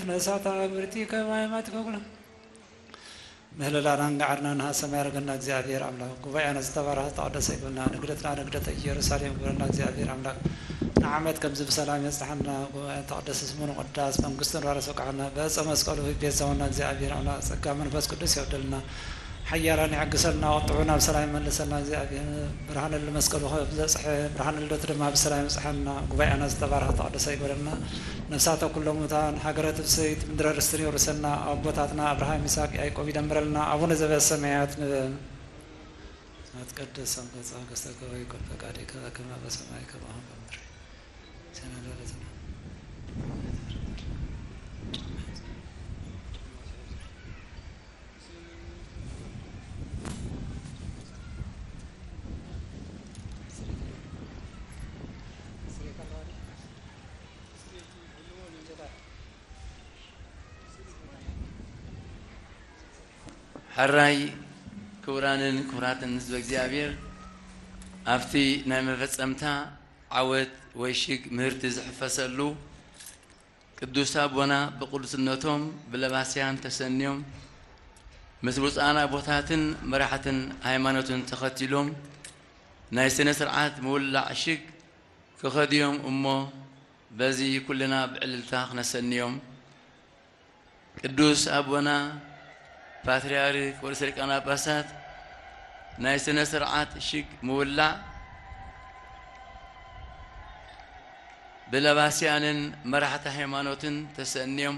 ነሳታ ብርቲ ከማይ ማትከጉላ ምህለላናን ጋዕርናን ሃሰማይ ያርገና እግዚኣብሔር ኣምላኽ። ጉባኤና ዝተባረኸ ተቐደሰ ይግበና። ንግደትና ንግደተ ኢየሩሳሌም ግበረና እግዚኣብሔር ኣምላኽ። ንዓመት ከምዚ ብሰላም የጽንሓና። ጉባኤ ተቐደሰ ስሙ ንቆዳስ መንግስቱ ንራረስ ወቃዕና። በእፀ መስቀሉ ቤዛውና እግዚኣብሔር ኣምላኽ። ጸጋ መንፈስ ቅዱስ የውደልና። ሓያላን ይዕግሰልና። ቁጥዑ ናብ ሰላም ይመልሰልና እግዚኣብሔር። ብርሃነ ለመስቀሉ ከም ዘጽሐ ብርሃነ ልደቱ ድማ ብሰላም ይብጽሐና። ጉባኤና ዝተባረኸ ተቐደሰ ይግበረና። ነፍሳተ ኩሎም ሙታን ሃገረ ትፍስሕቲ ምድረ ርስትን የውርሰና። ኣቦታትና ኣብርሃም ይስሐቅ ያዕቆብ ይደምረልና። ኣቡነ ዘበሰማያት ንበል። ይትቀደስ ስምከ ትምጻእ መንግስትከ ወይኩን ፈቃድከ በከመ በሰማይ ከማሁ በምድር። ሲሳየና ዘለለዕለትነ ሕራይ ክቡራንን ክቡራትን ህዝበ እግዚኣብሔር፣ ኣብቲ ናይ መፈጸምታ ዓወት ወይ ሽግ ምህርቲ ዝሕፈሰሉ ቅዱስ ኣቦና ብቅዱስነቶም ብለባስያን ተሰንዮም ምስ ብፁዓን ኣቦታትን መራሕትን ሃይማኖትን ተኸቲሎም ናይ ስነ ስርዓት ምውላዕ ሽግ ክኸድዮም እሞ በዚ ኩልና ብዕልልታ ክነሰንዮም። ቅዱስ ኣቦና ፓትርያርክ ወርእሰ ሊቃነ ጳጳሳት ናይ ስነ ስርዓት ሽግ ምውላዕ ብለባስያንን መራሕቲ ሃይማኖትን ተሰንዮም